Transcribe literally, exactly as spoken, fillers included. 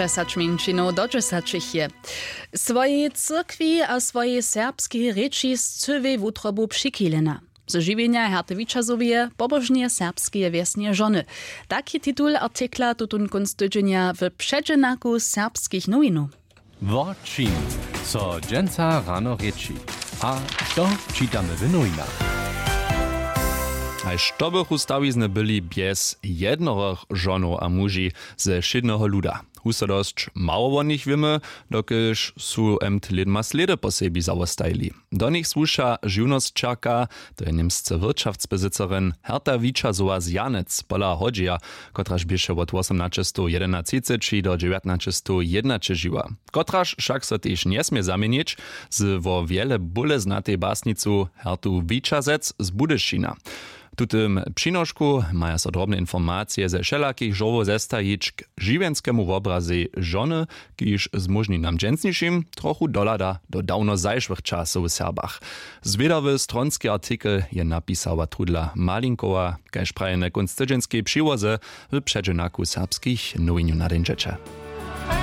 Dźesać mjeńšinow do dźesaćich je swojej cyrkwi a swojej serbskej rěči scyłej wutrobu přichilena. Ze žiwjenja herty wićazowje pobožneje serbskeje wjesnje žony. Taki titul artikla tutón kónc tydźenja w předźenaku serbskich nowinow. Wo čim so dźensa rano rěči? A što čitamy w nowinach? Haž to bychu stawizny byli bjez jednorych žonow a muži ze wšědneho luda. Husto dosć mało wo nich wěmy, dokelž su emt lědma slědy po sebi zawostajili. Do nich słuša žiwnosćerka, to je němsce wirtšaftsbesicerin, herta wićazowa z janec pola hodźeja, kotraž běše wot wosomnaćestow jedenatřiceći do dźewjatnaćestow jědnaće žiwa, kotraž wšak so tež njesmě zaměnić z wo wjele bóle znatej basnicu hertu wićazec z budyšina. W tutym přinošku maja so drobne informacije ze wšelakich žurłow zestajić k žiwjenskemu wobrazej žony, kiž zmóžni nam dźensnišim trochu dohlada do dawno zašłych časow w serbach. Zwědawy stronski artikel je napisała trudla malinkowa, kaž prajene kónc tydźenskej přiłoze w předźenaku serbskich nowinjow nadjeńdźeće.